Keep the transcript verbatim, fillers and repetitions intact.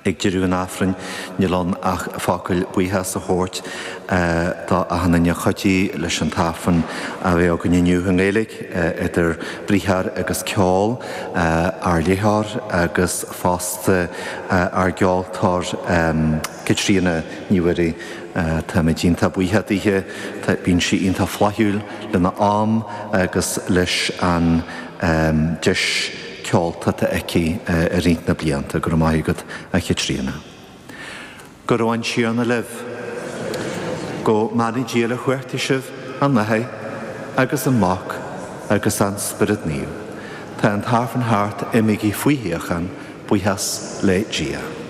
Ag deireadh an Aifrinn níl ann ach focal buíochas a thabhairt do achan duine a chuidigh leis an tAifreann a bheith againn inniu i nGaeilge idir briathar agus ceol, ár léitheoir agus fosta ár gceoltóir Caitríona Ní Mhuirí. Táimid iontach buíoch dithe, bíonn sí iontach flaithiúil lena am agus leis an deis ceolta atá aici i rith na blianta. Go raibh maith agat a Chaitríona. Go raibh an Tiarna libh. Go mbeannaí Dia le chuartaigh sibh an Athair agus an Mac agus an Spiorad Naomh. Tá an tAifreann thart, imígí faoi shíocháin, buíochas le Dia.